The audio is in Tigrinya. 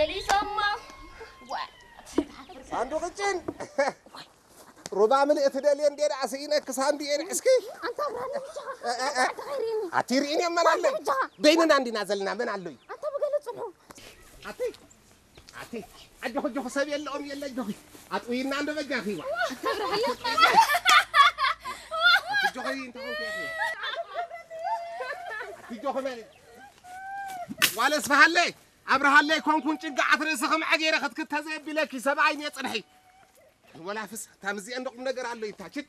ሊሶማ። ዋ። ሳንዱቕጭን ሩባ ምልእቲ ደልየ እንዴ ደኣ ስኢነኪ ሳንዱየን እስኪ ኣንታ ብራኒ ብቻ እ፣ እ፣ እ። ተኸይሪኒ። ኣቲ ርኢን እየ መን ኣለይ ብቻ። በይንና እንዲና ዘለና መን ኣለይ ኣንታ ብገለ ጽንሑ። ኣቲ ኣቲ ኣጆኺ ኣጆኺ ሰብ የለኦም የለ ኣጆኺ ኣጥውይና እንዶ በጃኺ ዋ ኣቲ ኣጆኺ እንተ ኾንኩ ኢኺ ኣቲ ኣጆኺ መን ዋለ ስብሃለይ ኣብርሃለይ ኮንኩን ጭንቃዓት ርእሲ ከም ዓጌረ ክትክተ ዘየቢለኪ ሰብኣይ እየ ጽንሒ ወላፍስ ታምዚአ እንዶ ቁም ነገር ኣሎ ይታችን